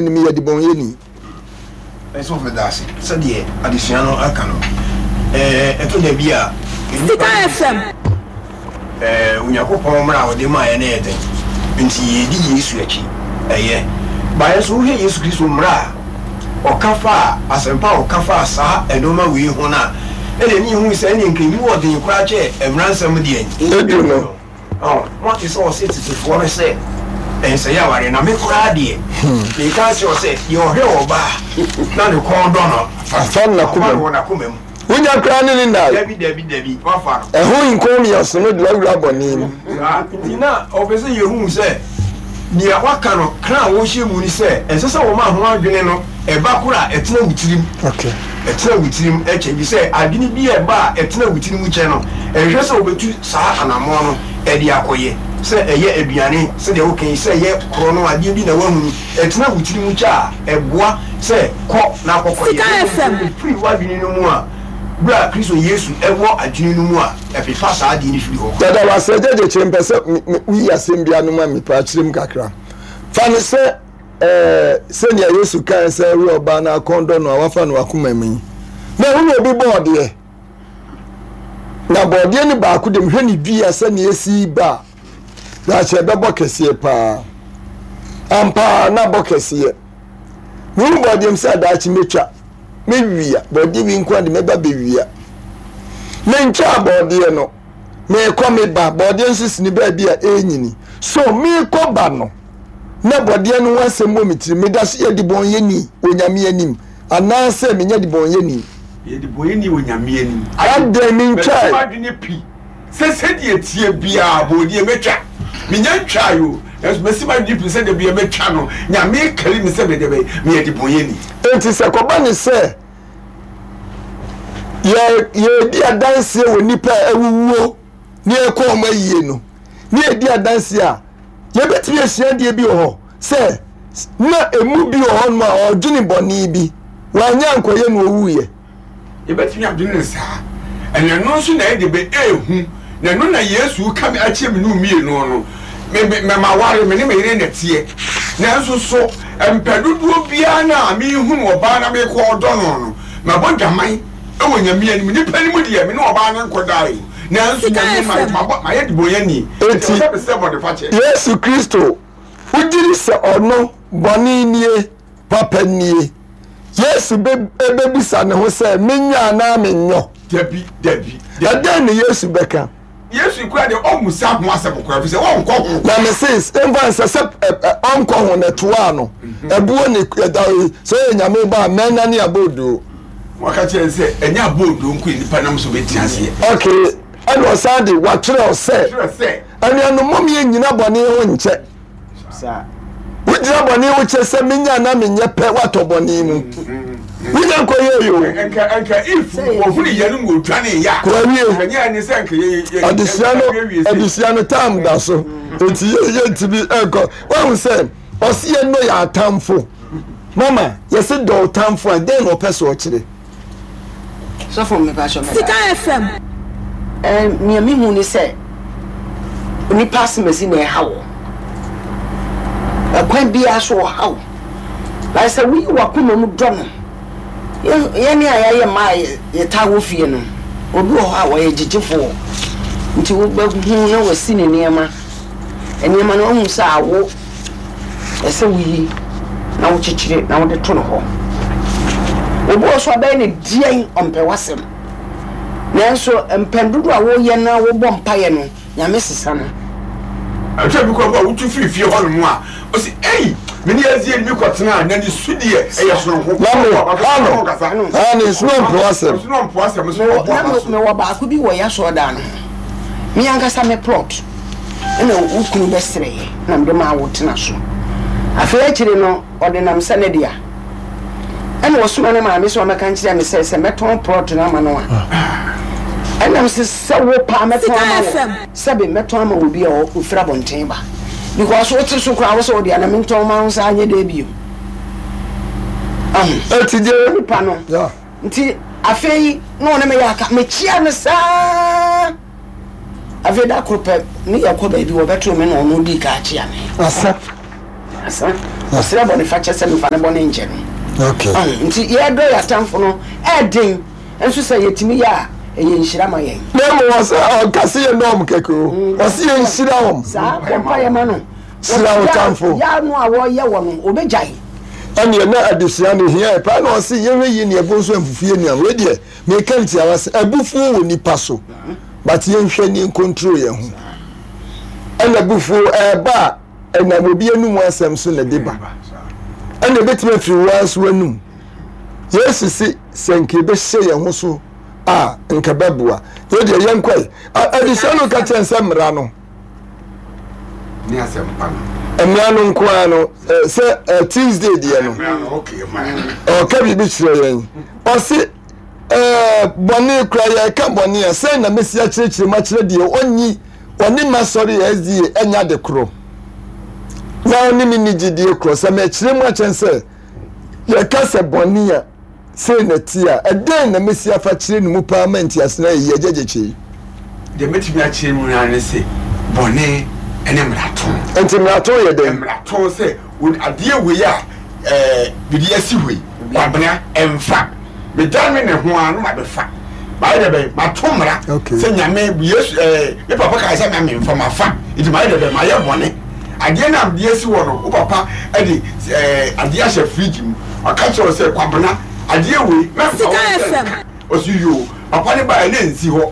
anim yɛ debɔnyɛni. Nso meda ase sɛdeɛ adesua no aka no. Ɛtɔ da bi a nnipa Sika FM. Onyankopɔn mmara a ɔde maeɛ no yɛ den, nti yɛdi Yesu akyi, ɛyɛ. But nso wohwɛ Yesu Kristo mmara a ɔka faa, asɛmpa a ɔka faa saa nnoɔma wei ho no a, ɛna ɛne yɛhu sɛ ɛneɛ nka ɛmu wɔ den koraa kyɛɛ mmara nsɛm deɛ Edu no. Ɔ, moate sɛ ɔse tetefoɔ no sɛ, Ɛnsɛe awareɛ, na me koraa deɛ, mereka akyerɛ wo sɛ, deɛ ɔhwɛ ɔbaa na ne kɔn dɔ no, Afa no wafa n'akoma no mu. wɔ n'akoma mu. Wonya koraa ne ne nnae. Dabi, dabi, dabi, wafa no. Ɛho nkɔnmiaso no de wawura bɔne mu. Saa nti na ɔpɛ sɛ yɛhu sɛ nea waka no, kra a wɔhyɛ mu ne sɛ, ɛnsɛ sɛ wɔma ho adwene no ba koro a ɛtena wo tirim. Ɛtena wo tirim kyɛ, efisɛ adwene bi a ɛba a ɛtena wo tirim kyɛ no, ɛnhwɛ sɛ wobɛtu saa anammɔn no de akɔyɛ, sɛ ɛyɛ aduane, sɛdeɛ woka yi, sɛ ɛyɛ korɔno, adeɛ bi na woahunu, ɛtena wo tirim kyɛ a, ɛboa sɛ kɔ na kɔkɔyɛ. Na mmom sɛ ɛfiri w'adwene no mu a, berɛ a Kristo Yesu wɔ adwene no mu a, ɛpepa saa adeɛ no firi hɔ koraa. Dada wase agya gyekyere mpɛ sɛ woyi asɛm bi ano ma me paa kyerɛ mu kakra. Fa no sɛ ɛɛ sɛnea Yesu kae sɛ woyɛ ɔbaa na akɔn dɔ no a wafa no wakoma mu yi. Na ɛho na obi bɔɔ deɛ. Na bɔɔdeɛ no baako de mehwɛ ne dua sɛnea esi ba a daakye ɛbɛbɔ kɛseɛ paa. Ampa na bɔ kɛseɛ. Mehu bɔɔdeɛ mu sɛ daakye mɛtwa. Mɛwia bɔɔdeɛ wi nko de mɛba bɛwia. Mentwaa bɔɔdeɛ no. Meekɔ meba bɔɔdeɛ nso sini baabi a ɛrenyini. So meekɔ ba no na bɔdeɛ no ho asɛm wɔ me tirim. Meda so yɛ debɔnyɛni wɔ Nyame anim anaasɛ menyɛ debɔnyɛni? Yɛ debɔnyɛni wɔ Nyame anim. Adɛn mentwae? Mɛto m'adwene pi sɛ sɛdeɛ ɛteɛ biara bɔdeɛ mɛtwa. Menya ntwae o, nanso masi m'adwene pi sɛ da biara mɛtwa no. Nyame rekari me sɛ meyɛ dɛbɛn? Meyɛ debɔnyɛni. Enti sɛ kɔba ne sɛ yɛ yɛredi adanseɛ wɔ nnipa a awuwuo ne yɛkɔ wɔn ayie no ne yɛdi adanseɛ a yɛbɛtumi asua adeɛ bi wɔ hɔ sɛ na emu bi wɔ hɔnom a ɔdwene bɔne bi wanyɛ ankɔyɛ na ɔwuiɛ. Yɛbɛtumi adwene no saa. Ɛna ɛno nso na ɛde bɛ ehu. Na ɛno na Yesu reka me akyerɛ me ne wo mmienu no. Me, me, me maware, me ne me yere na ɛteɛ. Nanso so mpɛ dodoɔ biara no a mehunu ɔbaa na mekɔ ɔdɔ no no, mabɔ dwaman wɔ Nyame anim. Nnipa anim deɛ, me ne ɔbaa no nkɔdae o. Nanso Nyame anim, mayɛ, mabɔ, mayɛ debɔnyɛni. Enti Enti, ɛwɔ sɛ mesrɛ bɔnefakyɛ. Yesu Kristo, wogye di sɛ ɔno, bɔne nie, papa nie? Yesu bɛ, bɛbisa ne ho sɛ, Menyɔ anaa menyɔ? Dabi, dabi, dabi. Ɛdɛn ne Yesu bɛka? Yesu kura deɛ ɔmmusa ho asɛm koraa, ɛfiri sɛ ɔnkɔ ho Na koraa. mese, mfa nsɛ sɛ ɔnkɔ ho na ɛtoaa no. Ɛboɔ ne ɛda sɛ ɔyɛ Nyame ba a, mɛnane abɔɔdoo. Waka kyerɛ no sɛ ɛnyɛ abɔɔdoo nko na nipa nam so bɛtena aseɛ. Okay, ɛna ɔsan de watwerɛ sɛ, Twerɛ sɛ. Anuanom, mom yɛnnyina bɔne ho nkyɛ. Wogyina bɔne ho kyɛ sɛ menya anaa menyɛ pɛ woatɔ bɔne mu. Wonya nkɔyɛ yi o. Nka nka if wɔhunu yɛ no na wɔdwane yɛ a. Kɔwie. Nka nyɛ ne sɛ nka yɛ yɛ Adesua no adesua no time da so. Eti yɛ yɛntumi nkɔ. Wahu sɛ ɔsi yɛ nnɔ yɛ atamfo. Mama yɛsi dɔ ɔtamfo a dɛn na ɔpɛ sɛ ɔkyerɛ? Sɔfo mepakyɛw meda Sika ase. FM. Ɛɛ nea mehu ne sɛ onipa asemasi na ɛha wo. Ɛkwan biara so ɔha wo. But sɛ woyi w'akoma mu dɔ no, yɛne a yɛayɛ mmaa a yɛtaa wɔ fie no, obi wɔ hɔ a ɔyɛ gyegyefoɔ. Nti wobɛhu na wasi ne nneɛma. Nneɛma no wahu sɛ awo. Ɛsɛ sɛ woyi na wokyekyere na wode to no hɔ. Obi wɔ so a bɛyɛ no deɛn ɔmpɛ w'asɛm. Nanso mpɛn dodoɔ a woyɛ na wobɔ mpaeɛ no, Nyame sesa no. Ɛtɔ bi koraa mpo a wotu firi fie hɔnom a, ɔse ei, me ne Azie ne me kɔtenaa na ne su deɛ ɛyɛ sononko. Na me, ha no, ha no, nso na ɔmpo asɛm. Nso na ɔmpo asɛm, nso na ɔbɔ aba so. Mewɔ baako bi wɔ y'asɔɔdan no ho, me ankasa me plot. Ɛna wo kunu bɛsrɛeɛ na mede maa wo tena so. Afei akyire no ɔde nam sɛ ne dea. Ɛna ɔsoma ne maame sɛ ɔmmɛka nkyerɛ me sɛ sɛ mɛtɔn plot no ama no a. Ɛna mese sɛ wo paa mɛtɔn ama wo, sɛbe mɛtɔn ama obi a ɔfiri abɔnten ba. Because wote so koraa wo sɛ wo dea na mentɔn ma wo saa nyɛ dɛ bio. Ahu. Eti deɛ. Nipa no. Yeah. Nti afei na ɔne me yɛ aka mekyia no saa. Afei da koro pɛ, ne yɛkɔ baabi, wɔbɛtoo me na ɔno dii kan kyea me. Asa. Asa. Ɔsrɛ bɔnefakyɛ sɛ memfa ne bɔne nkyɛ no. Okay. Ɔho, nti yɛdɔ yɛn atamfo no ɛɛden, nso sɛ yɛtumi yɛ a, ɛyɛ nhyira ma yɛn. Na mmom ɔsɛ ɔnka sɛ yɛnnɔ wɔn kɛkɛ o, ɔse yɛnhyira wɔn. Saa, bɔ mpaeɛ ma no. Hyira wo tamfo. Yaw no a wɔyɛ wɔ no, ɔbɛgyae. Ɛnneɛ na adesua no hia yɛ paa na ɔse yɛhwɛ yie ne ɛbo nso amfufu yɛ nua. Wei deɛ meka no tiawa sɛ abufuo wɔ nipa so but yɛnhwɛ ne yɛncontrol yɛn ho. Ɛna abufuo ɛɛba a ɛnam obi anum asɛm so na ɛde ba. Ɛna ɛbɛtumi afiri wo ara nso w'anum. Yesu se sɛ nka yɛbɛhyɛ yɛn ho so a nka bɛboa. Yɛ deɛ yɛnkɔe. Adesua no ka kyerɛ sɛ mmara no ne asɛmpa no. Mmara no nko ara no sɛ Tuesday deɛ no ɔka biribi kyerɛ yɛn ɔse bɔne kora yɛka bɔne a sɛn na mɛsi akyerɛkyerɛ mu akyerɛ deɛ ɔnyi ɔne ma sɔre SDA ɛnya ade korɔ na ɔne me ni gyidie korɔ sɛ mɛkyerɛ mu akyɛn sɛ yɛka sɛ bɔne a Sei na ɛteɛ a, ɛdɛn na mɛsi afa kyerɛ ne mu paa ma ntease no ayɛ yie? Agya Gyekye. Deɛ mɛtumi akyerɛ mu ara ne sɛ, bɔne ne mmarato. Enti mmarato yɛ dɛn? Mmarato sɛ adeɛ wei a ɛɛ mede asi hɔ yi, Kwabena, ɛmfa. Medane me ne ho ara na mabɛfa. Mayɛ dɛ bɛn? Mato mmara sɛ Nyame, Yesu, ɛɛ me papa kaa sɛ ma memfa, mafa. Nti mayɛ dɛ bɛn? Mayɛ bɔne. Adeɛ no a mede asi hɔ no, wo papa de ɛɛ adeɛ ahyɛ fridge mu. Ɔka kyerɛ wo sɛ, Kwabena, adeɛ wei, mɛmfa wo nsa nka. Ɔse, Yoo. Papa no baeɛ na ɛnsi hɔ.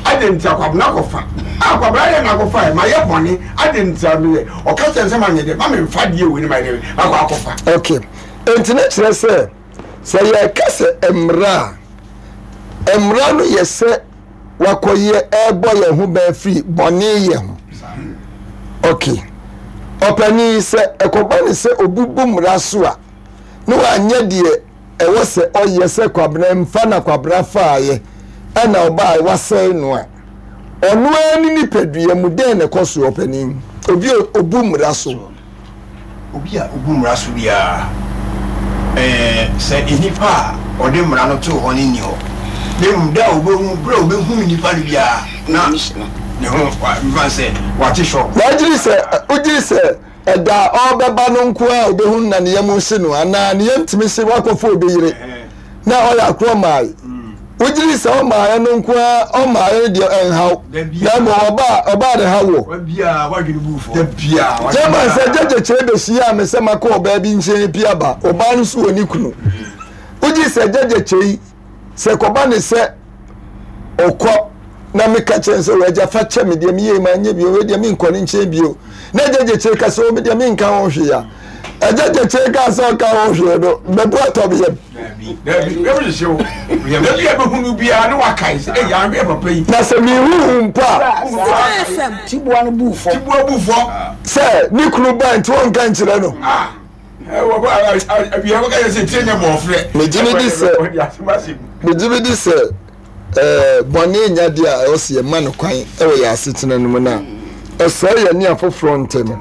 Adɛn nti a? Kwabena kɔfa. Ah, Kwabena adɛn na akɔfaeɛ? Mayɛ bɔne. Adɛn nti a meyɛ? Ɔka kyerɛ no sɛ, Manyɛ dɛ, ma memfa adeɛ wei na mayɛ dɛ, makɔ akɔfa. Ok. Enti na kyerɛ sɛ, sɛ yɛreka sɛ mmara a, mmara no yɛ sɛ wakɔyɛ ɛrebɔ yɛn ho ban firi bɔne yɛ ho. Ok. Ɔpanin, sɛ ɛkɔba ne sɛ obi bu mmara so a, na wanyɛ deɛ ɛwɔ sɛ ɔyɛ sɛ Kwabena mfa na Kwabena faeɛ ɛna ɔbaa wasɛe no a, ɔno ara ne nipadua mu dɛn na ɛkɔ so ɔpanin? Obi a ɔbu mmara so. Obi a obu mmara so biara, ɛɛ, sɛ nnipa a ɔde mmara no too hɔ no nni hɔ, na mmom da a obehu, bere a obehu nnipa no biara, na ne ho, mfa no sɛ, wate shock. Na wogye di sɛ, wogye di sɛ ɛda a ɔrebɛba no nko ara a obehu no na ne yam rehye no, anaa ne yam tumi hye wakɔfa obi yere na ɔyɛ akorɔ mmae? Wogye di sɛ ɔmmaeɛ no nko ara, ɔmmaeɛ no deɛ ɛnhaw, na mmom ɔba a, ɔba a ne haw wɔ. Gyama sɛ gyegye kyerɛ bɛhyiaa me sɛ makɔ ɔbaa bi nkyɛn pii aba, ɔbaa no nso wɔ ne kunu. Wogye sɛ gyegye kyɛ yi, sɛ kɔba ne sɛ ɔkɔ na meka kyerɛ no sɛ wagya fa kyɛ me deɛ meyɛ ma nyɛ bio wei deɛ menkɔ ne nkyɛn bio na agya gyekyere ka sɛ me deɛ menka ho hwee a agya gyekyere ka sɛ ɔka ho hwee no mɛbu atɔ me yam na sɛ mehuhu mpo a tiboa no bu fɔ sɛ ne kunu ba nti wɔnka nkyerɛ no ah. Megye medi sɛ bɔne nyɛ adeɛ a ɛwɔ sɛ yɛma no kwan wɔ yɛn asetena no mu na ɛsɛe yɛn ne afoforɔ ntam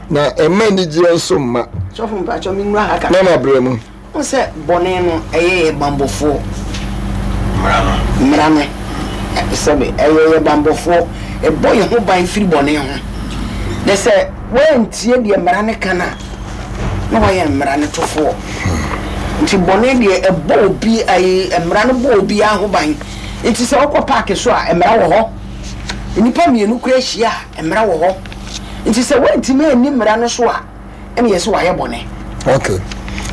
na ɛmma anigyeɛ nso mma. Sɔfo mpakyɛ me nwura ha kakra. Mama brɛ mu. Wohu sɛ bɔne no ɛyɛ yɛ banbɔfoɔ. Mmara no. Mmara no sɛbe ɛyɛ yɛ banbɔfoɔ. Ɛbɔ yɛn ho ban firi bɔne ho. Na sɛ woantie deɛ mmara no ka no a, na woayɛ mmara no tofoɔ. Nti bɔne deɛ ɛbɔ obi ayi mmara no bɔ obiara ho ban. Nti sɛ wokɔ paake so a mmara wɔ hɔ. Nnipa mmienu koraa hyia a mmara wɔ hɔ. Nti sɛ woantumi anni mmara no so a, ɛna yɛse wayɛ bɔne. Ok.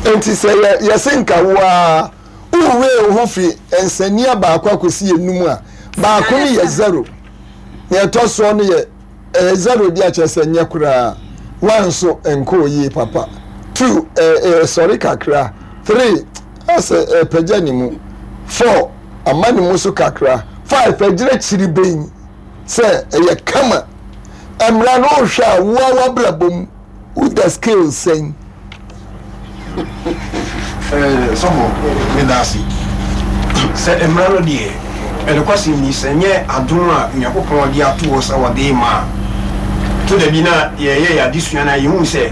Nti sɛ yɛ yɛse nka wo ara wo wee wo ho firi nsania baako akɔsi enum a, baako no yɛ zero, nea ɛtɔ soɔ no yɛ ɛyɛ zero di akyerɛ sɛ nyɛ koraa, one nso nkɔɔ yie papa, two ɛ ɛsɔre kakra, three asɛ ɛpagya ne mu, four ama ne mu so kakra, five agyina kyiriben sɛ ɛyɛ kama. Mmara no wohwɛ a woa w'abrabɔ mu woda scale sɛn? Eh, sɔfo, meda ase. Sɛ mmara no deɛ, ɛnokwasɛm ni, sɛ nyɛ adom a Onyankopɔn de ato hɔ sɛ ɔde rema a, ɛtɔ da bi na yɛyɛ yɛn adesua no a, yɛhu sɛ,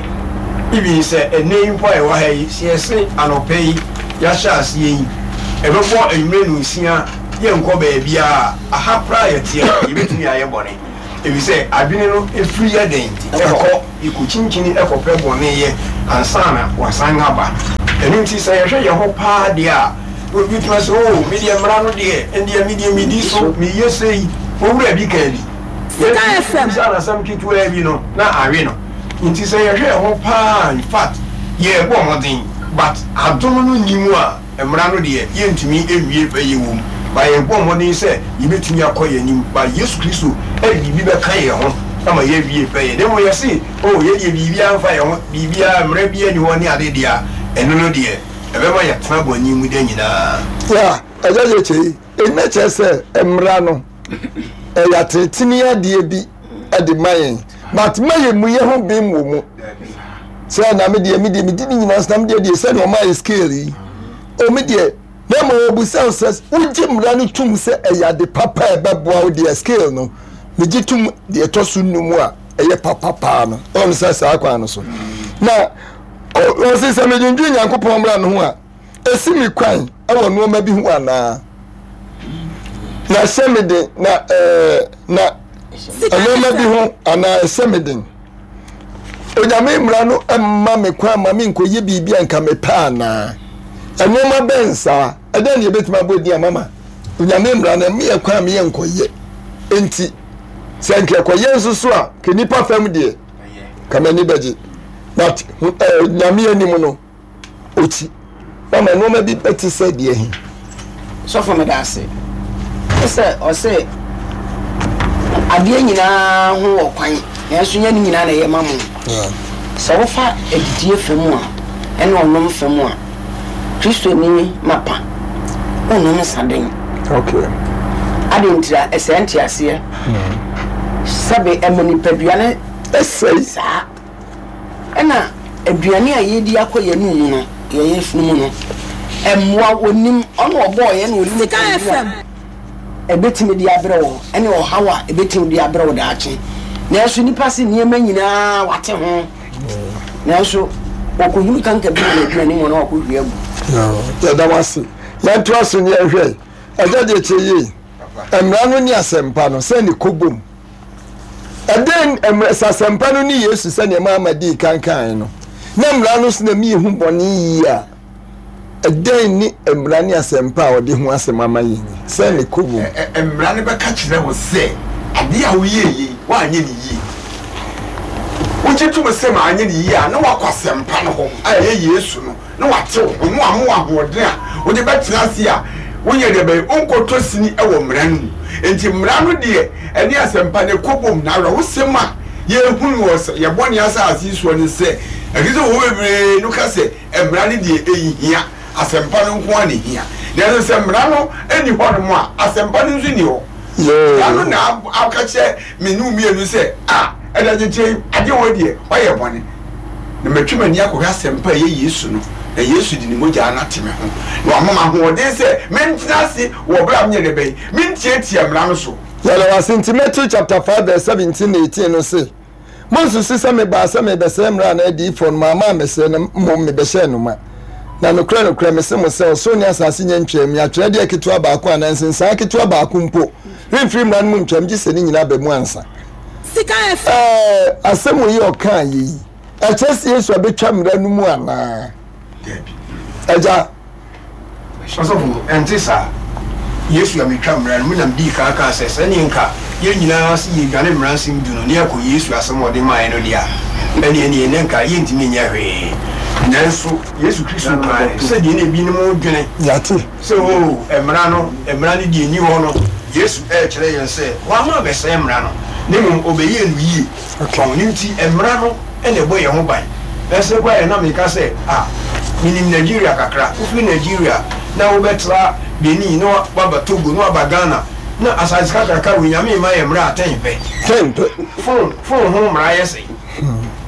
even sɛ ɛnnɛ yi mpo a yɛwɔ ha yi, sɛ yɛse anɔpa yi yɛahyɛ aseɛ yi, ɛbɛbɔ anwummerɛ nnɔnsia, yɛnkɔ baabiara a, aha koraa a yɛteɛ no, yɛbɛtumi ayɛ bɔne. Efisɛ adwene no firi yɛ dɛn? Ɛkɔ. Yɛkɔkyinkyini kɔpɛ bɔne yɛ ansa na wasan aba. Ɛno nti sɛ yɛhwɛ yɛn ho paa deɛ a, obi bɛtumi asɛ, Oh, me deɛ mmara no deɛ, ɛndeɛ me deɛ medi so, meyɛ sei. Owura bi kaa bi. Yɛtumi bisa no asɛm ketewaa bi no, na awe no. Nti sɛ yɛhwɛ yɛn ho paa a, in fact, yɛrebɔ mmɔden, but adom no nni mu a, Mmara no deɛ, yɛntumi nwie pɛyɛ wɔ mu, but yɛbɔ mmɔden sɛ yɛbɛtumi akɔ yɛn anim, but Yesu Kristo de biribi bɛka yɛn ho ama yɛawie pɛyɛ. Na mmom yɛse, Oh, yɛn deɛ biribiara mfa yɛn ho, biribiara, mmara biara nni hɔ ne ade deɛ a, ɛno no deɛ, ɛbɛma yɛatena bɔne mu da nyinaa. Yeah, Agya Gyekye, eyi na kyerɛ sɛ mmara no, ɛyɛ atenetene adeɛ bi de ma yɛn, but ma yɛn mu yɛ ho bem wɔ mu. Sɛ na me deɛ, me deɛ, medi ne nyinaa so, na me deɛ deɛ sɛdeɛ ɔma yɛ scale yi, o me deɛ, na ma wɔbusa wo sɛ wogye mmara no tom sɛ ɛyɛ ade papa a ɛbɛboa wo deɛ scale no, megye tom deɛ ɛtɔ so nnum a ɛyɛ papa paa no, ɔno sɛ saa kwan no so. Na ɔse sɛ medwendwen Nyankopɔn mmara no ho a, Esi me kwan wɔ nneɛma bi ho anaa? Na ɛhyɛ me den na ɛɛ na nneɛma bi ho anaa ɛhyɛ me den? Onyame mmara no mma me kwan ma menkɔyɛ biribi a nka mepɛ anaa? Nneɛma bɛn saa? Ɛdɛn na yɛbɛtumi abɔ din ama ma Onyame mmara no ɛma yɛ kwan ma yɛnkɔyɛ? Enti sɛ nka ɛkɔyɛ nso so a, ka nipa fam deɛ, ka m'ani bɛgye. But eh, Nyame anim no, Okyi mama nnoɔma bi bɛte sɛ deɛ he? Sɔfo meda ase. Wo sɛ ɔse adeɛ nyinaa ho wɔ kwan nanso nyɛ ne nyinaa na ɛyɛ ma mo. Sɛ wofa adidie fa mu a ɛne ɔnom fa mu a Kristoni mapa wonnom nsaden. Okay. Adɛn ntira? Ɛsɛe nteaseɛ. Sɛbe ɛma nipadua no ɛsɛe. Saa. Ɛna aduane a yɛredi akɔ yɛn anum mu no, yɛn yafunu mu no, mmoa ɔnim, ɔna ɔbɔɔ yɛn na ɔnim aduane a ɛbɛtumi de abrɛ wo ɛne ɔhaw a ɛbɛtumi de abrɛ wo daakye. Nanso nnipa se nneɛma nyinaa wate ho, nanso wɔkɔhunu kanka bi wɔ n'aduane mu na wakɔhwie agu. Yɛda wo ase. Yɛntoa so ne yɛnhwɛ. Agya deɛ kyɛ yie. Mmara no ne asɛmpa no, sɛn ne kɔbom? Ɛdɛn mmerɛ sɛ asɛmpa no ne Yesu sɛdeɛ Maama dii kan kaeɛ no, na mmara no so na mi hu bɔne yie a, ɛdɛn ne mmara ne asɛmpa a ɔde ho asɛm ama yɛn yi? Sɛn ne kɔ wom? Mmara no bɛka kyerɛ wo sɛ adeɛ a woyɛɛ yi, woanyɛ no yie. Wogye tom sɛ manyɛ no yie a, na woakɔ asɛmpa no hɔ a ɛyɛ Yesu no. na wate wo ho, na wama wo ahoɔden a wode bɛtena ase a wonyɛ deɛ bɛyɛ, wonkɔtɔ sini wɔ mmara no mu. Enti mmara no deɛ, ɛne asɛmpa no ɛkɔ bom. Na awerɛhosɛm a yɛhunu wɔ yɛn bɔne asase yi soɔ ne sɛ, Akristofoɔ bebree no ka sɛ mmara no deɛ ɛnhia, asɛmpa no nko ara na ɛhia. Nanso sɛ mmara no nni hɔnom a, asɛmpa no nso nni hɔ. Mmara no na aka kyerɛ me ne wo mmienu sɛ, Ah, ɛda kyekyɛ yi, adeɛ wei deɛ, woayɛ bɔne. Na matwa m'ani akɔhwɛ asɛmpa a ɛyɛ Yesu no, na Yesu de ne mogya no ate me ho, na wama me ahoɔden sɛ mentena ase wɔ berɛ a menyɛ dɛ bɛn, mentiatia mmara no so. Yɛda wo ase nti Matthew chapter 5 verse 17 na 18 no se, Monsusu sɛ mebaa sɛ merebɛsɛe mmara anaa adiyifoɔ no, mamma ammɛsɛe no, mmom mebɛhyɛɛ no ma. Na nokorɛ nokorɛ mese mo sɛ, ɔsoro ne asase nnya ntwaam, atwerɛdeɛ ketewa baako anaa nsensan ketewa baako mpo remfiri mmara no mu ntwam gye sɛ ne nyinaa ba mu ansa. Ɛɛ, asɛm wei a ɔkaa yɛ yi, ɛkyerɛ sɛ Yesu abɛtwa mmara no mu anaa? Dabi. Agya. Ɔsɔfo, ɛnte saa. Yesu abɛtwa mmara no mu na medii kan kaa sɛ, sɛdeɛ nka yɛn nyinaa se yɛredwane mmara nsɛm du no na yɛakɔ Yesu asɛm a ɔde maeɛ no deɛ a, ɛnneɛ ɛnneɛ na nka yɛntumi nyɛ hwee. Nanso Yesu Kristo kae sɛdeɛ na ebinom dwene. Yɛate. Sɛ, Oo, mmara no, mmara no deɛ nni hɔ no, Yesu rekyerɛ yɛn sɛ wamma ammɛsɛe mmara no, na mmom ɔbɛyɛɛ no yie. Ɔno nti, mmara no na ɛbɔ yɛn ho ban. Ɛsɛ koraa yɛ na meka sɛ, ah, menim Nigeria kakra. Wofiri Nigeria na wobɛtra Benin na woaba Togo na woaba Ghana, na asase kakraka wei, Nyame mma yɛn mmara a tɛn pɛ. Tɛn pɛ. Phone, phone ho mmara yɛ sɛn?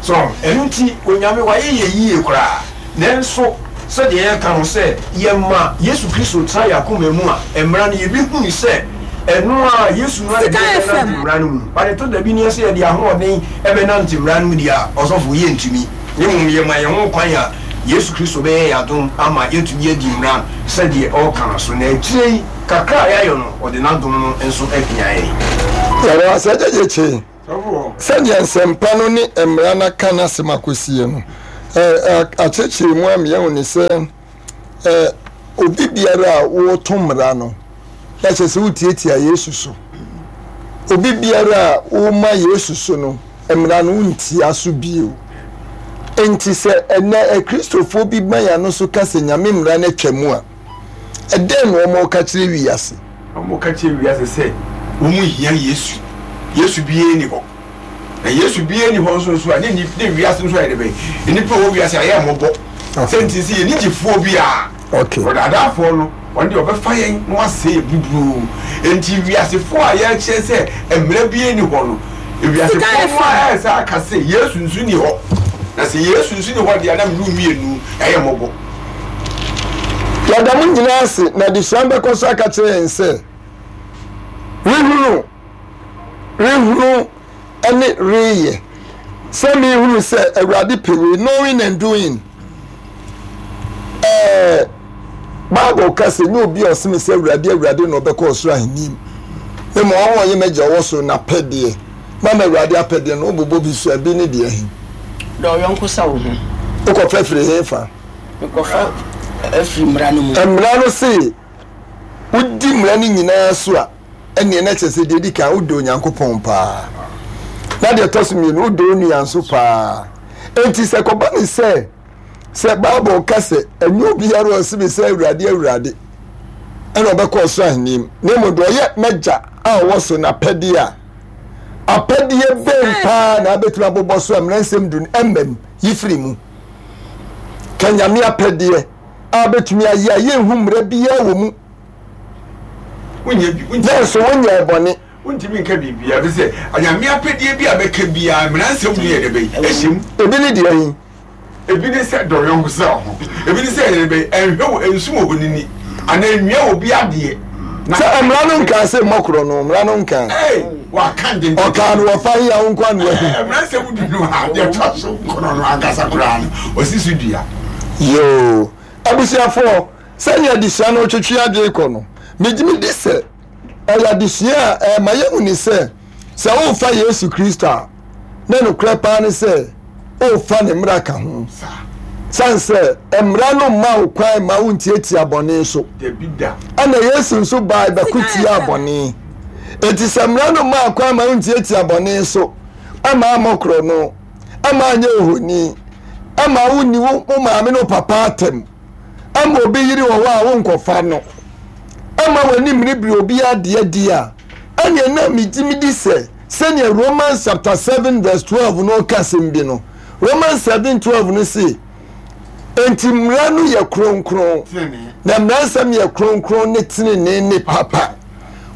So, ɛno nti, Onyame wayɛ yɛn yie koraa. Nanso, sɛdeɛ yɛka no, sɛ yɛma Yesu Kristo tena yɛn akoma mu a, mmara no, yɛbɛhunu sɛ ɛno ara, Yesu no ara na ɛde yɛn bɛnante mmara no mu. But ɛtɔ da bi no, sɛ yɛde ahoɔden bɛnante mmara no mu deɛ a, ɔsɔfo, yɛntumi. Na mmom yɛma yɛn ho kwan a, Yesu Kristo bɛyɛ yɛn adom ama yɛatumi adi mmara sɛdeɛ ɔreka no so, na akyire yi, kakra a yɛayɔ no, ɔde n'adom no nso apia yɛn. Yɛda wo ase, Agya Gyekye. Sɛdeɛ Nsɛmpa no ne Mmara no aka n'asɛm akɔsie no, akyerɛkyerɛ mu ama yɛahu ne sɛ, obi biara a woto mmara no, na kyerɛ sɛ wotiatia Yesu so. Obi biara a woma Yesu so no, mmara no wontia so bio. Enti sɛ ɛnɛ Akristofoɔ bi ma yɛn ano so ka sɛ Nyame mmara no atwa mu a, ɛdɛn na wɔka kyerɛ wiase? Wɔka kyerɛ wiase sɛ wɔn hia Yesu. Yesu biara nni hɔ. Na Yesu biara nni hɔ nso nso a, ne nni ne wiase nso ayɛ dɛ bɛn? Nnipa a wɔwɔ wiase ayɛ mmɔbɔ. Sɛ nti sɛ yɛn gyefoɔ biara. Okay. Ɔdaadaafoɔ no, ɔno deɛ ɔbɛfa yɛn na wasɛe yɛn buburoo. Enti wiasefoɔ a yɛrekyerɛ sɛ mmara biara nni hɔ no, wiasefoɔ no ara ɛresa aka sɛ Yesu nso nni hɔ. Na sɛ Yesu nso nni hɔ deɛ a, na mene wo mmienu yɛayɛ mmɔbɔ. Yɛda mo nyinaa ase, na adesua no bɛkɔ so aka kyerɛ yɛn sɛ, Rehunu, rehunu ne reyɛ. Sɛ mehunu sɛ Awurade pɛ wei, knowing and doing. Ɛɛ, Bible ka sɛ nyɛ obi a ɔse me sɛ Awurade, Awurade na ɔbɛkɔ ɔsoro ahenni mu. Na mmom wɔn a wɔyɛ m'agya ɔwɔ soro n'apɛdeɛ. Mama Awurade apɛdeɛ no, wobobɔ bi so a, bi ne deɛ he? Dɔ wo yɔnko sɛ wo ho. Wokɔfa firi he fa? Mekɔfa afiri mmara no mu. Mmara no se wodi mmara no nyinaa so a, ɛnneɛ na kyerɛ sɛ deɛ ɛdi kan wodɔ Onyankopɔn paa. Na deɛ ɛtɔ so mmienu, wodɔ wo nua nso paa. Enti sɛ kɔba ne sɛ, sɛ Bible ka sɛ ɛnyɛ obiara a ɔse me sɛ Awurade, Awurade ɛna ɔbɛkɔ ɔsoro ahenni mu, na mmom deɛ ɔyɛ m'agya a ɔwɔ soro n'apɛdeɛ a, apɛdeɛ bɛn paa na abɛtumi abobɔ so a mmara nsɛm du no ɛmmam yi firi mu? Ka Nyame apɛdeɛ a bɛtumi ayɛ a yɛnhu mmara biara wɔ mu. Nanso wonyɛɛ bɔne. Wontumi nka biribiara, ɛfiri sɛ Nyame apɛdeɛ bi a bɛka biara, mmara nsɛm mu yɛ dɛ bɛyi, ɛhyɛ mu. Ebi ne deɛ he? Ebi ne sɛ dɔ yɔnko sɛ wo ho. Ebi ne sɛ yɛ dɛ bɛyi, ɛnhwɛ wo, ɛnsum ohonini, anaa ɛnwia obi adeɛ. Sɛ mmara no nkaa sɛ mmɔ korɔno, mmara no nkaa. Ei, waka dendenden. Ɔkaa no wɔ fa he a wo nko ano ahu. Mmara nsɛm du no a, deɛ ɛtɔ so nkron no ankasa koraa no, ɔsi so dua. Yoo, abusuafoɔ, sɛnea adesua no retwetwe adwene kɔ no, megye medi sɛ ɛyɛ adesua a ɛma yɛhu ne sɛ, sɛ worefa Yesu Kristo a, na nokorɛ paa ne sɛ worefa ne mmara ka ho. Sane sɛ mmara no mma wo kwan mma wontiatia bɔne so. Ɛna Yesu nso bae bɛko tiaa bɔne. Enti sɛ mmara no mmaa kwan ma wontiatia bɔne so, ɛma ammɔ korɔno, ɛma anyɛ ohoni, ɛma wonni wo maame ne wo papa atɛm, ɛma obi yere wɔ hɔ a wonkɔfa no, ɛma w'ani mmeribiri obi adeɛ di a, ɛneɛ na megye medi sɛ sɛnea Romans chapter 7 verse 12 no ka asɛm bi no, Romans 7 12 no se, Enti mmara no yɛ kronkron, na mmara nsɛm yɛ kronkron ne tenenee ne papa.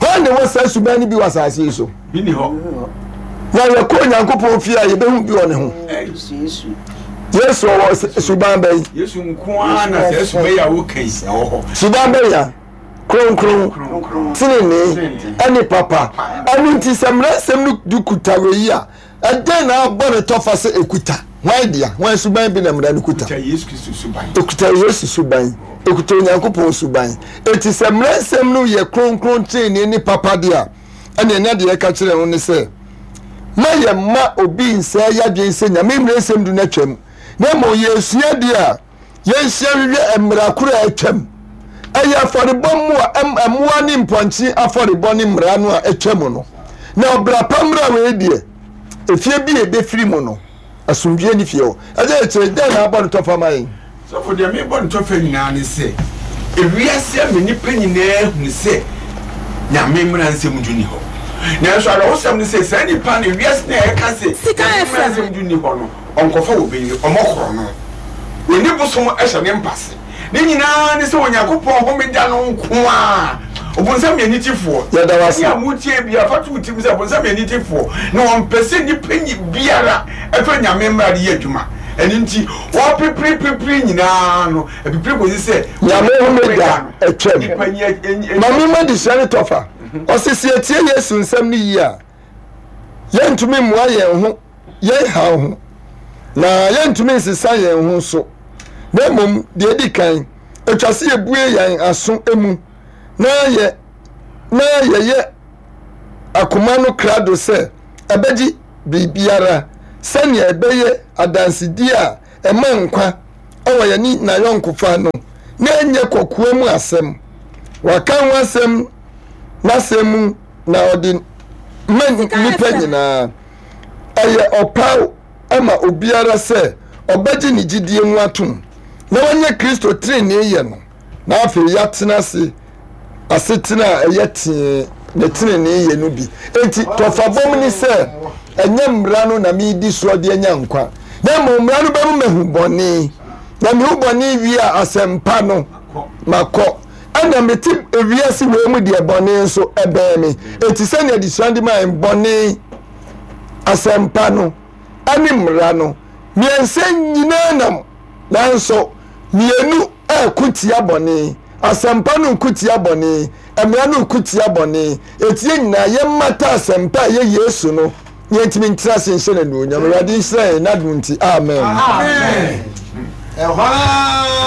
Hwan na ɛwɔ saa suban no bi wɔ asase yi so? Na yɛkɔ Onyankopɔn fie a yɛbɛhu bi wɔ ne ho. Yesu ɔwɔ suban bɛn? Yesu nko ara na saa suban yi a woka yi ɛwɔ hɔ. Suban bɛn ya? Kronkron, tenenee, ɛne papa. Ɛno nti sɛ mmara nsɛm no du kuta wei yi a, Ɛdɛn na abɔ ne tɔfa sɛ ekuta? Hwan dea? Hwan suban bi na mmara no kuta? Ekuta Yesu Kristo suban. Ekuta Yesu suban. Ekuta Onyankopɔn suban. Enti sɛ mmara nsɛm no yɛ kronkron, trenee ne papa de a, ɛnneɛ na deɛ ɛka kyerɛ ho ne sɛ, ma yɛmma obi nsɛe yɛadwene sɛ Nyame mmara nsɛm du no atwam, na mmom yɛresua deɛ a Yɛnhyia nhwehwɛ mmara koro a atwam. Ɛyɛ afɔrebɔ mmoa, mmoa ne mpɔnkye afɔrebɔ ne mmara no a atwam no. Na ɔbra pa mmara wei deɛ, efie bi a ebefiri mu no, asomdwie ne fie hɔ. Ɛgya yɛ kyerɛ dɛn na abɔ no tɔfa ma yɛn? Sɔfo, deɛ mebɔ no tɔfa nyinaa ne sɛ, ewiase ama nnipa nyinaa ahunu sɛ Nyame mmara nsɛm du nni hɔ. Nanso awerɛhosɛm ne sɛ, saa nnipa no, ewiase no a ɛka sɛ Nyame mmara nsɛm du nni hɔ no, Ɔnkɔfa obi yere, ɔmmɔ korɔno. Onni bosom hyɛ ne mpa ase. Ne nyinaa ne sɛ Onyankopɔn homeda no nko ara. Ɔbonsam yɛ anitefoɔ. Yɛda wo ase. Ɛne a motie biara, fa to wo tirim sɛ ɔbonsam yɛ anitefoɔ, na ɔmpɛ sɛ nnipa biara fa Nyame mmara de yɛ adwuma. Ɛno nti, ɔpeperepepere nyinaa no, ɛpepere kɔsi sɛ Nyame homeda atwam. Ma memma adesua no tɔfa. Ɔse sɛ yɛtie Yesu nsɛm no yie a, yɛntumi mmoa yɛn ho yɛn haw ho, na yɛntumi nsesa yɛn ho nso. Na mmom deɛ edi kan, etwa sɛ yɛbue yɛn aso mu na yɛ na yɛyɛ akoma no krado sɛ ɛbɛgye biribiara sɛnea ɛbɛyɛ adansedie a ɛma nkwa wɔ yɛne n'ayɔnkofa no na ɛnyɛ kɔkoa mu asɛm. Waka ho asɛm n'asɛm mu na ɔde ma nnipa nyinaa. Ɛyɛ ɔpaw ma obiara sɛ ɔbɛgye ne gyidie mu atom na wanya Kristo trenee yɛ no na afei yɛatena ase asetena a ɛyɛ tee ne trenee yɛ no bi. Enti tɔfabom ne sɛ ɛnyɛ mmara no na meredi soɔ de anya nkwa, na mmom mmara no bɛma mahu bɔne, na mehu bɔne wie a asɛmpa no makɔ. Ɛna mete ewiase wei mu deɛ bɔne nso ɛbɛn me. Enti sɛnea adesua de maa bɔne, asɛmpa no, ɛne mmara no, mmiɛnsa nyinaa nam, nanso mmienu reko tia bɔne, asɛmpa no reko tia bɔne, mmara no reko tia bɔne. Enti yɛn nyinaa yɛmmata asɛmpa a ɛyɛ Yesu no na yɛntumi ntena ase nhyɛ no anuonyam. Awurade nhyira yɛn n'adom nti. Amen. Amen. Ɛhɔ ara.